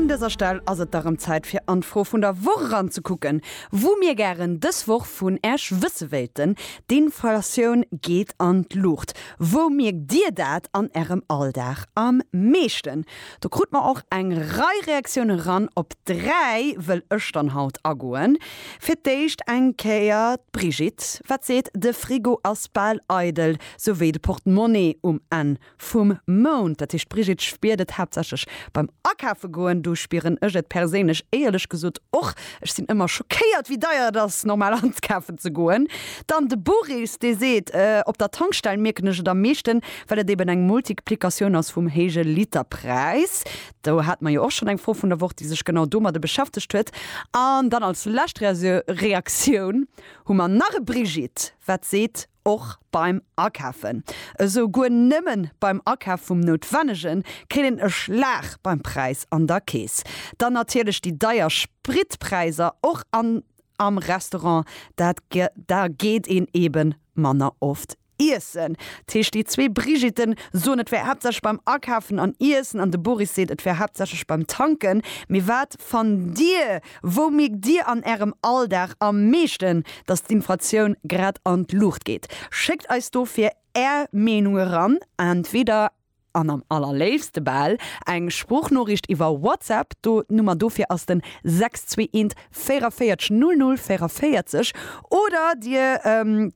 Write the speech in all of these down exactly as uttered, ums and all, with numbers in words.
Un dëser Stell ass et da rëm Zäit fir an d'Fro vun der Woch eranzekucken, wou mir gären dës Woch vun Äech wësse wéilten, D'Inflatioun geet an d'Luucht. Wou mierkt Dir dat an Ärem Alldag am meeschten? Do krute mer och eng Rei Reaktioune ran, op dräi wëll ech dann haut agoen. Fir d'éischt eng Kéier d'Brigitte, wat seet, De Frigo ass bal eidel, sou wéi de Portemonnaie um Enn vum Mount. Dat heescht, d'Brigitte spiert et haaptsächlech beim Akafe goen. Do spieren ech et perséinlech éierlech gesot och. Ech sinn ëmmer schockéiert, wéi deier et ass, normal ankafen ze goen. Dann de Boris, dee seet, Op der Tankstell mierken ech et am meeschten, well et eben eng Multiplikatioun ass vum héije Literpräis. Do hate mer jo och schonn eng Fro vun der Woch, déi sech genau domadde beschäftegt huet. An dann als lescht Reaktioun hu mer nach e Brigitte, wat seet, Och beim Akafen, esou guer nëmmen beim Akaf vum Noutwennegen, kritt een e Schlag beim Präis an der Kees. Dann natierlech déi deier Spritpräiser, och an am Restaurant, dat da geet een eben manner oft iessen. Dat heescht, déi zwee Brigitten soen, et wär haaptsächlech beim Akafen an Iessen, an de Boris seet, et wär haaptsächlech beim Tanken. Mee wat fannt Dir? Wou mierkt Dir an Ärem Alldag am meeschten, dass d'Inflatioun grad an d'Luucht geet? Schéckt eis dofir Är Meenung eran, entweder an am allerléifste bal eng Sproochnoriicht iwwer WhatsApp, do d'Nummer dofir ass den sechs zwee eent véierundvéierzeg null null véierundvéierzeg, oder dir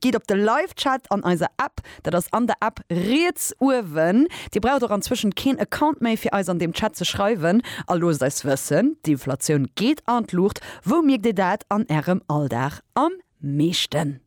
gitt op de Live-Chat an eiser App, dat ass an der App riets uewen. Dir braucht och anzwëschent keen Account méi fir eis an deem Chat ze schreiwen a loosst eis wëssen, d'Inflatioun geet an d'Luucht, wou mierkt dir dat an ärem Alldag am meeschten?